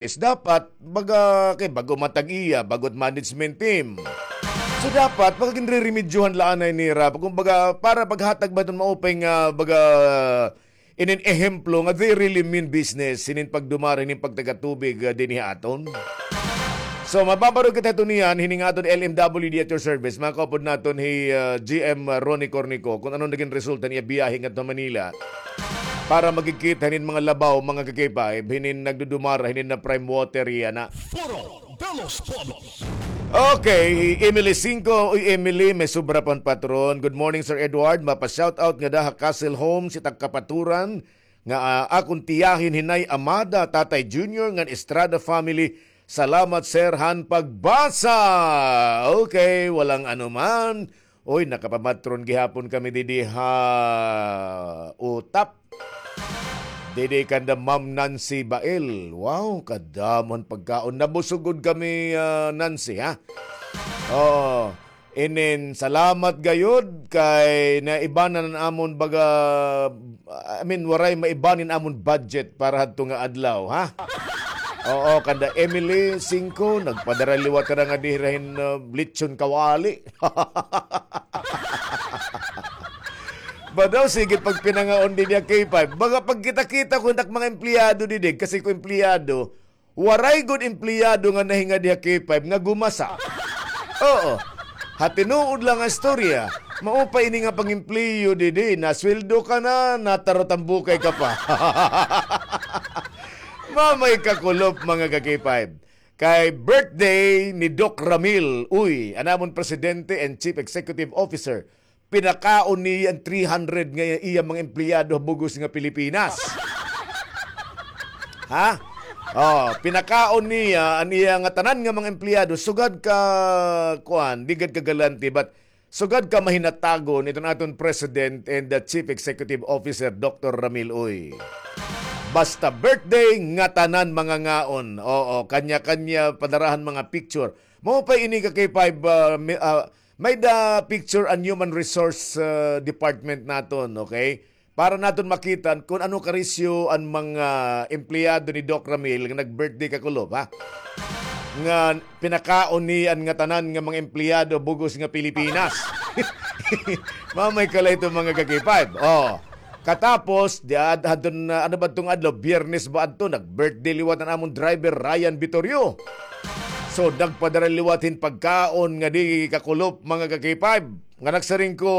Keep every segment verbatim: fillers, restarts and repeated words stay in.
Dapat, baga, kay bag-o man tag-iya, bag-o it management team. So, dapat, baga ginreremedyohan la anay nira. Kumbaga, para paghatag ba iton maupay nga, baga, inin ehemplo nga they really mean business, hinin pagdumara, hinin pagtagatubig, ah, dinhi ha aton. So, mababarog kita hito niyan, hini nga aton L M W D at your service. Mga kaupod naton hi, ah, G M Ronnie Cornico, kung ano naging resulta niya biyahe ngadto Manila para magkikita hinin mga labaw, mga ka-K five, hinin nagdudumara, hinin na prime water yana. Foro de los Pueblos. Okay, hi Emily Cinco. Uy, Emily, may sobra pa hin patron. Good morning, Sir Edward. Mapa-shoutout ngada ha Castle Homes, it ak kapaturan nga, ah, akon tiyahin hi Nay Amada, Tatay Junior, ngan Estrada family. Salamat, sir, han pagbasa. Okay, walang anuman. Uy, nakapamatron gihapon kami didi ha Utap. Didi kanda Ma'am Nancy Bael. Wow, kadamo han pagkaon. Nabusog gud kami, ah, Nancy, ha? Oo. Inin, salamat gayud kay naibanan an amon baga, I mean, waray maibanan an amon budget para hadto nga adlaw, ha? Oo, kanda Emily Cinco, nagpadara liwat ka na nga diri hin, uh, lechon kawali. Ba daw, sige pagpinangaon didi ha K five. Baga pagkita-kita ko hin ak mga empleyado didi, kasi ko empleyado, waray gud empleyado nga nahingadi ha K five nga gumasa. Oo. Ha tinuod la nga istorya, maupay ini nga pang-empleyo didi, nasweldo ka na, natarot an bukay ka pa. Mamay kakulop, mga ka-K five. Kay birthday ni Doc Ramil, uy, an amon presidente and chief executive officer, pinakaon niya an three hundred nga iya mga empleyado ha bug-os nga Pilipinas. Ha? Oh, pinakaon niya an iya nga tanan nga mga empleyado, sugad ka, kuan, di gad ka galante, but sugad ka mahinatagon iton aton president and the chief executive officer, Doctor Ramil Uy. Basta birthday, ngatanan mangangaon. Oo, kanya-kanya padarahan mga picture. Mao pa ini ka K five, ah, mi-, ah, may-da picture an human resource, ah, department naton, okay? Para naton makita kun ano karisyo an mga empleyado ni Doc Ramil nga nag-birthday kakulop, ha? Nga pinakaon niya an ngatanan nga mga empleyado bug-os nga Pilipinas. Mamay ka la hito, mga ka-K five. Oh. Katapos, di ad-, hadton, ah, ano ba adtong adlaw? Biyernes ba adto? Nag-birthday liwat an amon driver, Ryan Vitorio. So, nagpadara liwat hin pagkaon nga di kakulop, mga ka-K five. Nga nagsiring ko,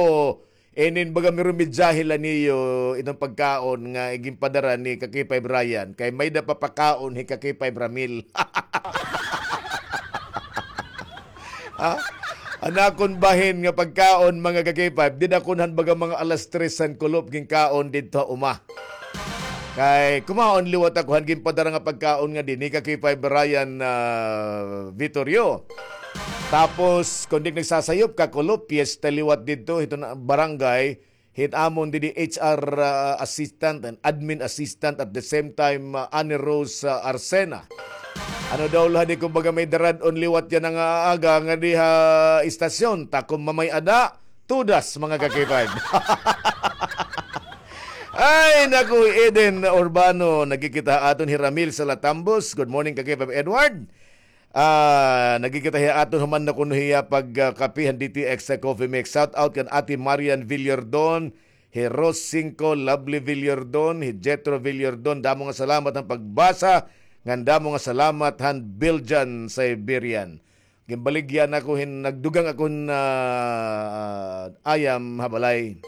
inin baga mirumidyahe la niyo iton pagkaon nga ginpadara ni ka-K five Ryan. Kay may-da papakaon hi ka-K five Ramil. Ha? An akon bahin nga pagkaon, mga ka-K five, dida kun han baga mga alas tres han kulop ginkaon didto ha uma. Kay kumaon liwat ako han ginpadara nga pagkaon nga dinhi ka-K five Ryan, ah, Vitorio. Tapos, kun di nagsasayop, kakulop, piyesta liwat didto, hito na barangay, hit amon didi H R, ah, assistant and admin assistant at the same time, ah, Annie Rose, ah, Arcena. Ano daw la di kumbaga may darad-on liwat yana nga aga nga di ha istasyon, ta kun mamay-ada, tudas, mga ka-K five. Ay, naku, Eden Urbano, nagkikita ha aton hi Ramil Salatambos. Good morning, ka-K five Edward. Ah, nagkikita hiya aton human na kuno hiya pag, ah, kape han D T X sa Coffee Mix. Shout out kan Ate Marian Villordon, hi Rose Cinco, Lovely Villordon, hi Jetro Villordon. Damo nga salamat han pagbasa, ngan damo nga salamat han Belgian Siberian. Ginbaligya na ako hin, nagdugang ako hin, ah, ayam ha balay.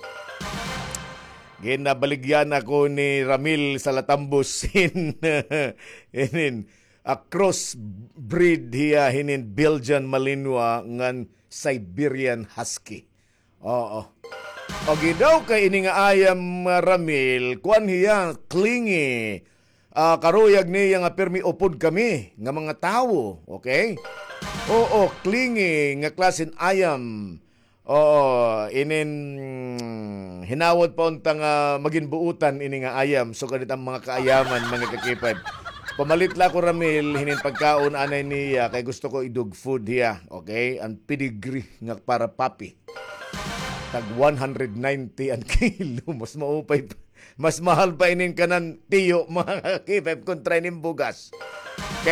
Ginbaligya na ako ni Ramil Salatambos hin, hin, a crossbreed hiya hinin Belgian Malinois ngan Siberian Husky. Oo. Pag daw kay ini nga ayam, ah, Ramil, kuan hiya, clingy. Ah, karuyag niya nga pirmi upod kami nga mga tawo, okay? Oo, clingy nga klasen ayam. Oo, inin hinawod pa unta nga magin buutan ini nga ayam. So, ganit an mga kaayaman, mga ka-K five. Pamalit la ako, Ramil, hinin pagkaon anay niya, kay gusto ko i-dog food hiya, okay? An pedigree nga para puppy. Tag one hundred ninety an kilo, mas maupay pa. Mas mahal pa inin kanan tiyo, mga ka-K five, kontra inin bugas.